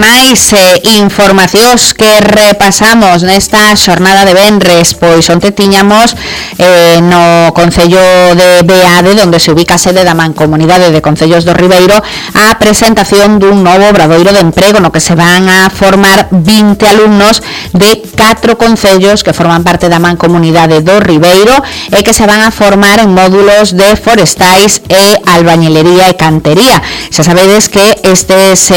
máis informacións que repasamos nesta xornada de venres, pois onte tiñamos no Concello de Beade, onde se ubica a sede da Mancomunidade de Concellos do Ribeiro, a presentación dun novo obradoiro de emprego no que se van a formar 20 alumnos de 4 concellos que forman parte da Mancomunidade do Ribeiro e que se van a formar en módulos de forestais e albañilería e cantería. Xa sabedes que estes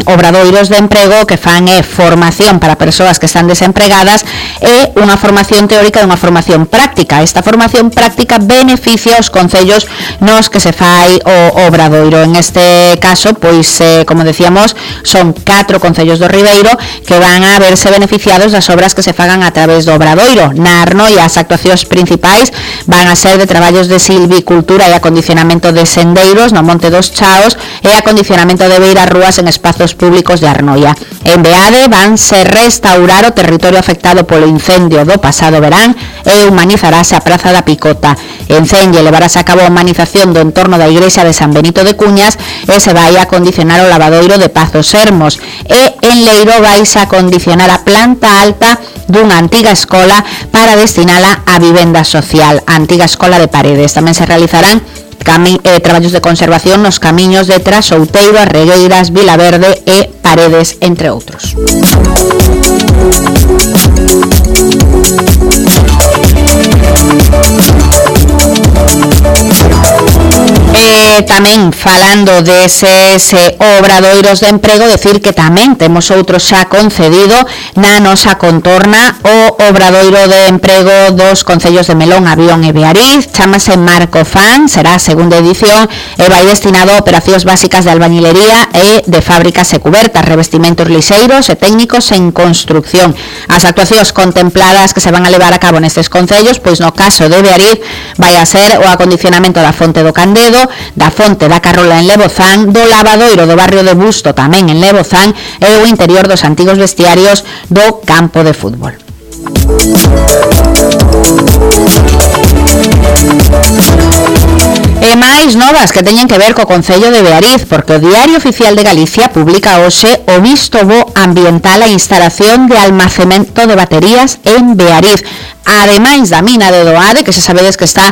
obradoiros de emprego que fan formación para persoas que están desempregadas e unha formación teórica e unha formación práctica. Esta formación práctica beneficia os concellos nos que se fai o obradoiro. En este caso, pois, como decíamos, son 4 concellos do Ribeiro que van a verse beneficiados das obras que se fagan a través do obradoiro. Na Arnoia, as actuacións principais van a ser de traballos de silvicultura e acondicionamento de sendeiros no Monte dos Chaos e acondicionamento de beiras rúas en espazos públicos de Arnoia. En Beade vanse restaurar o territorio afectado polo incendio do pasado verán e humanizarase a Praza da Picota. En Celle levarase a cabo a humanización do entorno da igrexa de San Benito de Cuñas e se vai a acondicionar o lavadoiro de Pazos Hermos. E en Leiro vais a acondicionar a planta alta dunha antiga escola para destinala a vivenda social, a antiga escola de Paredes. Tamén se realizarán traballos de conservación nos camiños de Trasouteiro, As Regueiras, Vilaverde e Paredes, entre outros. Tamén falando deses obradoiros de emprego, decir que tamén temos outro xa concedido na nosa contorna, o obradoiro de emprego dos concellos de Melón, Avión e Beariz, chamase Marco Fan, será a segunda edición e vai destinado a operacións básicas de albañilería e de fábricas e cubertas, revestimentos lixeiros e técnicos en construcción. As actuacións contempladas que se van a levar a cabo nestes concellos, pois no caso de Beariz vai a ser o acondicionamento da fonte do Candedo, da fonte da Carrola en Lebozán, do lavadoiro do barrio de Busto tamén en Lebozán e o interior dos antigos vestiarios do campo de fútbol. E máis novas que teñen que ver co Concello de Beariz, porque o Diario Oficial de Galicia publica hoxe o visto bo ambiental a instalación de almacenamento de baterías en Beariz. Ademais da mina de Doade, que se sabedes que está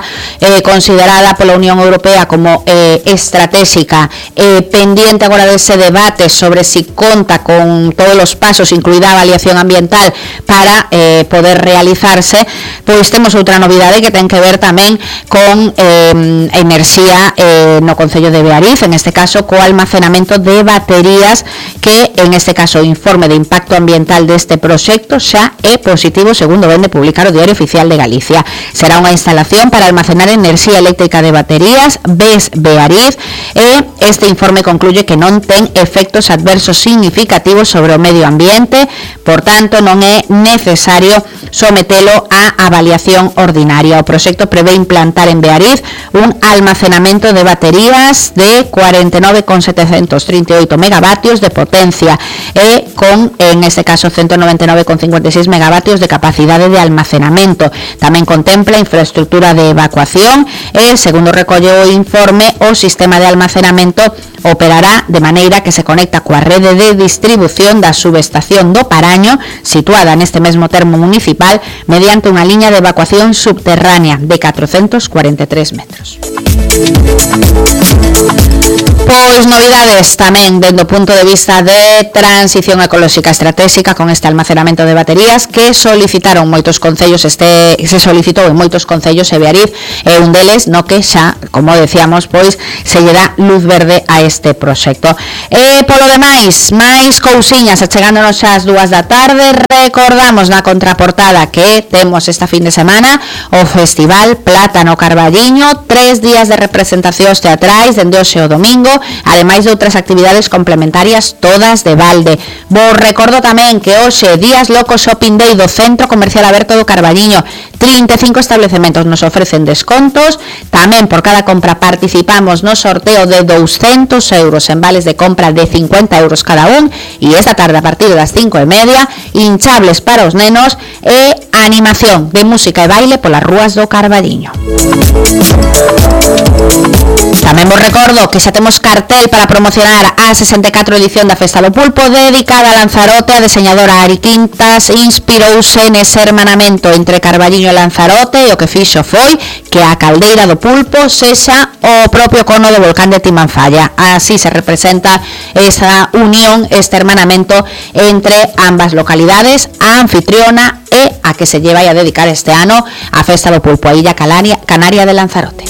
considerada pola Unión Europea como estratégica, pendiente agora dese debate sobre si conta con todos os pasos, incluída a avaliación ambiental, para poder realizarse, pois temos outra novidade que ten que ver tamén con enerxía no Concello de Beariz, en este caso co almacenamento de baterías, que en este caso o informe de impacto ambiental deste proxecto xa é positivo, segundo vende publicar o Diario Oficial de Galicia. Será unha instalación para almacenar enerxía eléctrica de baterías, BES Beariz, e este informe concluye que non ten efectos adversos significativos sobre o medio ambiente, por tanto non é necesario sometelo a avaliación ordinaria. O proxecto prevé implantar en Beariz un almacenamento de baterías de 49,738 megavatios de potencia e con, en este caso, 199,56 megavatios de capacidade de almacenamento. Tamén contempla infraestructura de evacuación e, segundo recolle o informe, o sistema de almacenamento operará de maneira que se conecta coa rede de distribución da subestación do Paraño, situada neste mesmo termo municipal, mediante unha liña de evacuación subterránea de 443 metros. Pois novidades tamén dende o punto de vista de transición ecolóxica estratégica con este almacenamento de baterías que solicitaron moitos concellos, se solicitou en moitos concellos e Beariz é un deles no que xa, como decíamos, pois se lle dá luz verde a este proxecto. E polo demais, máis cousiñas, achegándonos ás 2 da tarde, recordamos na contraportada que temos esta fin de semana o Festival Plátano Carballiño, 3 días de representacións teatrais dende hoxe o domingo, ademais de outras actividades complementarias todas de balde. Vos recordo tamén que hoxe Días Locos Shopping Day do Centro Comercial Aberto do Carballiño, 35 establecementos nos ofrecen descontos, tamén por cada compra participamos no sorteo de 200 euros en vales de compra de 50 euros cada un, e esta tarde a partir das 5:30 hinchables para os nenos e animación de música e baile polas rúas do Carballiño. Tamén vos recordo que xa temos cartel para promocionar a 64 edición da Festa do Pulpo dedicada a Lanzarote. A deseñadora Ari Quintas inspirouse nese hermanamento entre Carballiño e Lanzarote e o que fixo foi que a caldeira do Pulpo sexa o propio cono do volcán de Timanfaya. Así se representa esa unión, este hermanamento entre ambas localidades, a anfitriona e a que se lleva a dedicar este ano a Festa do Pulpo, a Illa Canaria de Lanzarote.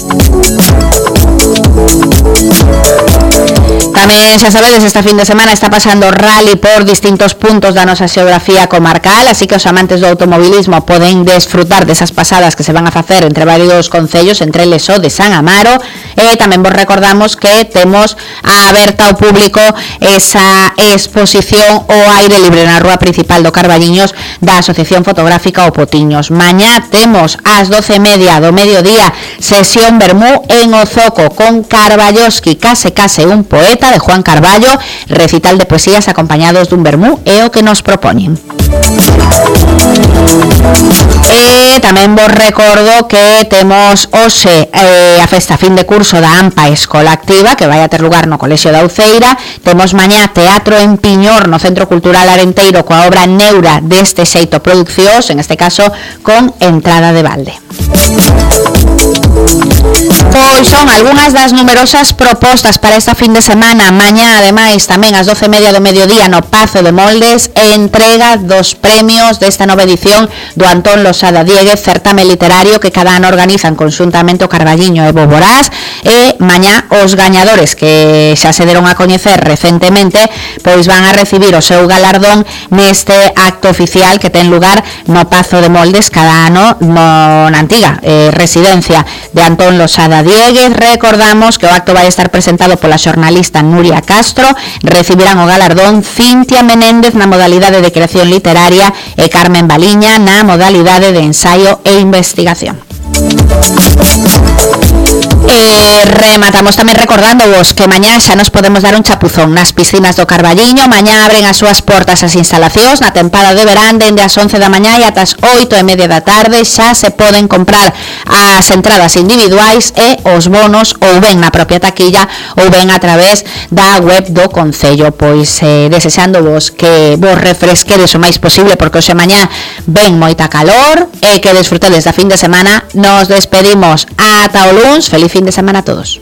Tamén, xa sabedes, esta fin de semana está pasando rally por distintos puntos da nosa xeografía comarcal, así que os amantes do automobilismo poden desfrutar desas pasadas que se van a facer entre varios concellos, entre eles o de San Amaro. E tamén vos recordamos que temos aberta ao público esa exposición ao aire libre na rúa principal do Carballiños da Asociación Fotográfica O Potiños. Mañá temos ás 12:30 do mediodía sesión vermú en Ozoco con Carballoski, Case un poeta, de Juan Carballo, recital de poesías acompañados dun vermú é o que nos propoñen. E tamén vos recordo que temos hoxe a festa fin de curso da AMPA Escola Activa, que vai a ter lugar no Colexio da Uceira. Temos mañá teatro en Piñor no Centro Cultural Arenteiro coa obra Neura deste xeito Produccións, en este caso con entrada de balde. Pois son algunhas das numerosas propostas para esta fin de semana. Mañá, ademais, tamén ás 12:30 do mediodía no Pazo de Moldes, entrega dos premios desta nova edición do Antón Losada Dieguez, certame literario que cada ano organizan conxuntamente o Carballiño e Boborás. E mañá os gañadores, que xa se deron a coñecer recentemente, pois van a recibir o seu galardón neste acto oficial que ten lugar no Pazo de Moldes cada ano na antiga residencia de Antón Losada Dieguez. Recordamos que o acto vai estar presentado pola xornalista Nuria Castro. Recibirán o galardón Cintia Menéndez na modalidade de creación literaria e Carmen Baliña na modalidade de ensaio e investigación. Rematamos tamén recordándoos que mañá xa nos podemos dar un chapuzón nas piscinas do Carballiño. Mañá abren as súas portas as instalacións na tempada de verán dende as 11 da mañá e ata as 8:30 da tarde. Xa se poden comprar as entradas individuais e os bonos ou ben na propia taquilla ou ben a través da web do Concello. Pois desexándovos que vos refresquedes o máis posible, porque hoxe mañá ven moita calor, e que desfrutedes da fin de semana. Nos despedimos ata o luns. Feliz fin de semana a todos.